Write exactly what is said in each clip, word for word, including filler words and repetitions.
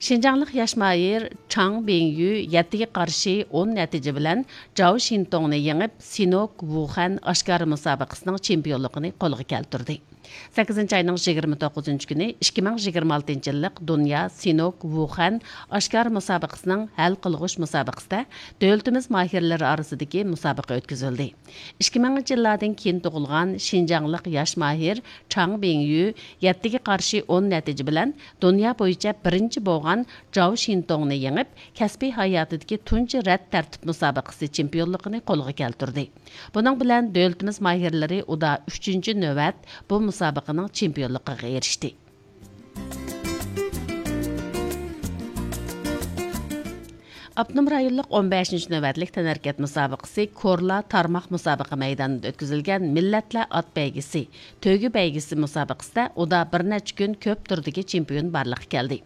شىنجاڭلىق ياش ماھىر چاڭ بىڭيۈ يەتتىگە قارشى ئون نەتىجە بىلەن جاۋ شىنتوڭنى يېڭىپ، سىنوك ۋۇخەن ئاشكارا مۇسابىقىسىنىڭ چېمپىيونلۇقىنى قولغا كەلتۈردى. سەككىزىنچى ئاينىڭ يىگىرمە توققۇزىنچى كۈنى ئىككى مىڭ يىگىرمە ئالتىنچى يىللىق دۇنيا سىنوك ۋۇخەن ئاشكارا مۇسابىقىسىنىڭ ھەل قىلغۇچ مۇسابىقىسىدە دۆلىتىمىز ماھىرلىرى ئارىسىدىكى مۇسابىقە ئۆتكۈزۈلدى. ئىككى مىڭىنچى يىللاردىن كېيىن تۇغۇلغان شىنجاڭلىق ياش ماھىر چاڭ بىڭيۈ يەتتىگە قارشى ئون نەتىجە بىلەن دۇنيا بويىچە بىرىنچى بولغان جاۋ شىنتوڭنى يېڭىپ، كەسپىي ھاياتىدىكى تۇنجى رەت تەرتىپ مۇسابىقىسى چېمپىيونلۇقىنى قولغا كەلتۈردى. بۇنىڭ بىلەن دۆلىتىمىز ماھىرلىرى ئۇدا ئۈچىنچى نۆۋەت بۇ مۇسابىقىنىڭ چېمپىيونلۇقىغا ئېرىشتى. ئاپتونوم رايونلۇق ئون بەشىنچى نۆۋەتلىك تەنھەرىكەت مۇسابىقىسى كورلا تارماق مۇسابىقە مەيدانىدا ئۆتكۈزۈلگەن مىللەتلەر ئات بەيگىسى، تۆگە بەيگىسى مۇسابىقىسىدە ئۇدا بىر نەچچە كۈن كۆپ تۈردىكى چېمپىيون بارلىققا كەلدى.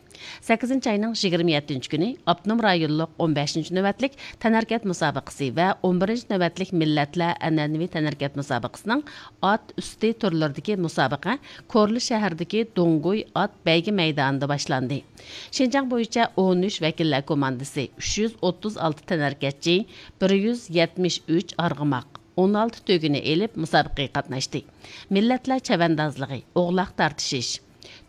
سەككىزىنچى ئاينىڭ يىگىرمە يەتتىنچى كۈنى ئاپتونوم رايونلۇق ئون بەشىنچى نۆۋەتلىك تەنھەرىكەت مۇسابىقىسى ۋە ئون بىرىنچى نۆۋەتلىك مىللەتلەر ئەنئەنىۋى تەنھەرىكەت مۇسابىقىسىنىڭ ئات ئۈستى تۈرلىرىدىكى مۇسابىقە كورلا شەھىرىدىكى دۇڭگۇي ئات بەيگە مەيدانىدا باشلاندى. شىنجاڭ بويىچە ئون ئۈچ ۋەكىللەر كوماندىسى، ئۈچ يۈز ئوتتۇز ئالتە تەنھەرىكەتچى، بىر يۈز يەتمىش ئۈچ ئارغىماق، ئون ئالتە تۆگىنى ئېلىپ مۇسابىقىگە قاتناشتى. مىللەتلەر چەۋەندازلىقى، ئوغلاق تارتىشىش،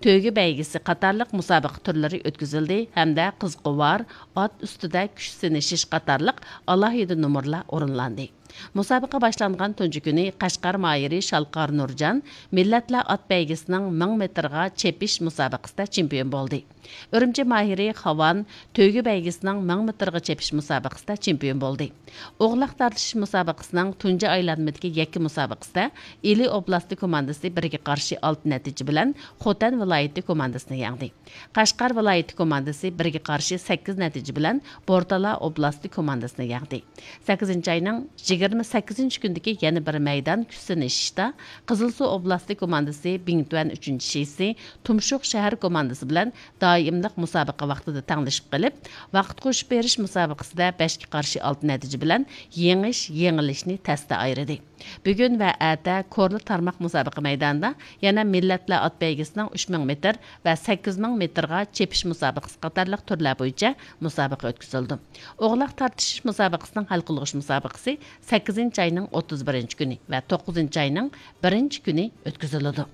تۆگە بەيگىسى قاتارلىق مۇسابىقە تۈرلىرى ئۆتكۈزۈلدى ھەمدە قىزقۇۋار، ئات ئۈستىدە كۈچ سىنىشىش قاتارلىق ئالاھىدە نومۇرلار ئورۇنلاندى. مۇسابىقە باشلانغان تۇنجى كۈنى قەشقەر ماھىرى شالقار نۇرجان مىللەتلەر ئات بەيگىسىنىڭ مىڭ مېتىرغا چېپىش مۇسابىقىسىدە چېمپىيون بولدى. ئۈرۈمچى ماھىرى خاۋان تۆگە بەيگىسىنىڭ مىڭ مېتىرغا چېپىش مۇسابىقىسىدە چېمپىيون بولدى. ئوغلاق تارتىشىش مۇسابىقىسىنىڭ تۇنجى ئايلانمىدىكى يەككە مۇسابىقىسىدە ئىلى ئوبلاستى كوماندىسى بىرگە قارشى ئالتە نەتىجە بىلەن خوتەن ۋىلايىتى كوماندىسىنى يەڭدى. قەشقەر ۋىلايىتى كوماندىسى بىرگە قارشى سەككىز نەتىجە بىلەن بورتالا ئوبلاستى كوماندىسىنى يەڭدى. سەككىزىنچى ئاينىڭ يىگىرمە سەككىزىنچى كۈنىدىكى يەنە بىر مەيدان كۈچ سىنىشىشتا قىزىلسۇ ئوبلاستى كوماندىسى بىڭتۈەن ئۈچىنچى شىسى تۇمشۇق شەھەر كوماندىسى بىلەن دائىملىق مۇسابىقە ۋاقتىدا تەڭلىشىپ قېلىپ، ۋاقىت قوشۇپ بېرىش مۇسابىقىسىدە بەشكە قارشى ئالتە نەتىجە بىلەن يېڭىش، يېڭىلىشنى تەستە ئايرىدى. بۈگۈن ۋە ئەتە كورلا تارماق مۇسابىقە مەيدانىدا يەنە مىللەتلەر ئات بەيگىسىنىڭ ئۈچ مىڭ مېتىر ۋە سەككىز مىڭ مېتىرغا چېپىش مۇسابىقىسى قاتارلىق تۈرلەر بويىچە مۇسابىقە ئۆتكۈزۈلىدۇ. ئوغلاق تارتىشىش مۇسابىقىسىنىڭ ھەل قىلغۇچ مۇسابىقىسى سەككىزىنچى ئاينىڭ ئوتتۇز بىرىنچى كۈنى ۋە توققۇزىنچى ئاينىڭ بىرىنچى كۈنى ئۆتكۈزۈلىدۇ.